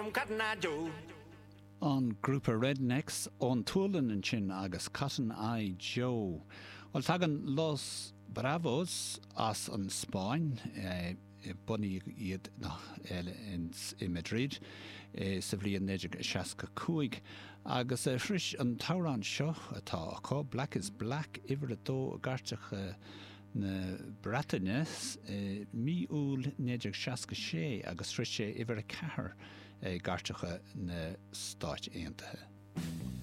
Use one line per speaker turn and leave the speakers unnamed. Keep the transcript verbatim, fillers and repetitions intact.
From Cotton Eye Joe.
An grúpa Rednex ón tSualainn ansin agus Cotton Eye Joe. Bhuel tagann Los Bravos as an Spáinn eh, bunaíodh iad i Madrid eh, sa bhliain naoi déag seasca cúig agus eh, shroich an t-amhrán seo atá acu Black is Black uimhir a dó i gcairteacha na Breataine mí Iúil naoi déag seasca sé agus shroich sé uimhir a ceathair i gcairteacha na Stáit Aontaithe.